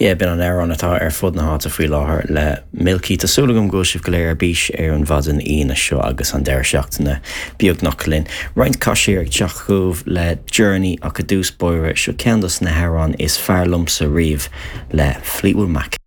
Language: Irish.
Yeah, b'in an amhrán atá ar fud na háite faoi láthair le Milky. Tá súil agam go bhfuil sibh go léir ar bís ar an mhaidin Aoine seo agus an deireadh seachtaine beagnach linn. Roinnt caisiar ag teacht chugaibh le Journey ach i dtús báire, seo ceann dos na hamhráin is fearr liomsa riamh le Fleetwood Mac.